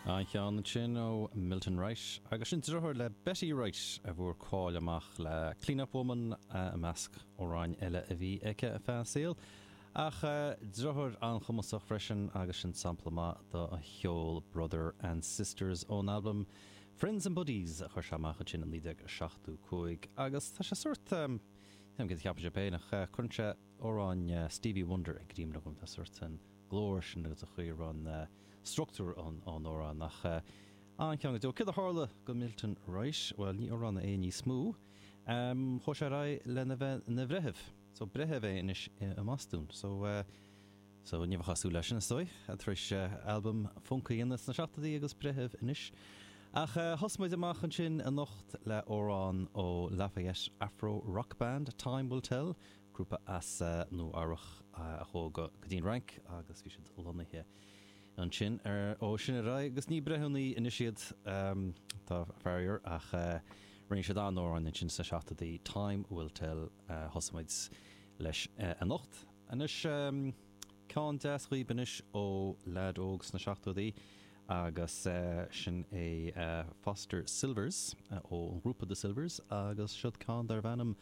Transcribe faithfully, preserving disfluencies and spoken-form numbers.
An ceann sin ó Milton Wright agus sin deartháir le Betty Wright a bhfuair cáil amach le Clean Up Woman i measc amhráin eile a bhí aici ar feadh an saol. Ach deartháir an-chumasach freisin agus sin sampla maith dá cheol Brother and Sisters ón albam Friends and Buddies a chuir sé amach sin in naoi déag seachtó cúig agus tá sé sórt go cheapann sé féin ach cuireann sé amhráin Stevie Wonder i gcuimhne dom tá sórt an glór sin agus a chuir an struchtúr an amhrán nach an ceann go Céard a tharla go Milton Wright, well ní amhránaí é níos mó, chuaigh sé ar aghaidh lena bheith ina bhreitheamh, so breitheamh é anois i mBostún, so uh, so ní chasú leis sin stoi, tar éis albam funk a dhéanamh sna seachtóidí agus breitheamh anois. Ach uh, thosaigh muid amach ansin anocht le amhrán ó Lafayette Afro Rock Band Time Will Tell, grúpa as uh, Nua-Eabhrac uh, a chuaigh go dtí an Fhrainc agus bhí siad lonnaithe ansin ar ó sin ar aghaidh agus ní breithiúna anois iad um, tá faraor ach uh, rinne siad an-amhrán ansin sna seachtóidí Time Will Tell uh, thosaigh muid leis uh, anocht. Anois um, ceann deas daoibh anois ó leaid óg sna seachtóidí agus uh, sin é uh, Foster Sylvers uh, ó an grúpa The Sylvers agus siod ceann darb ainm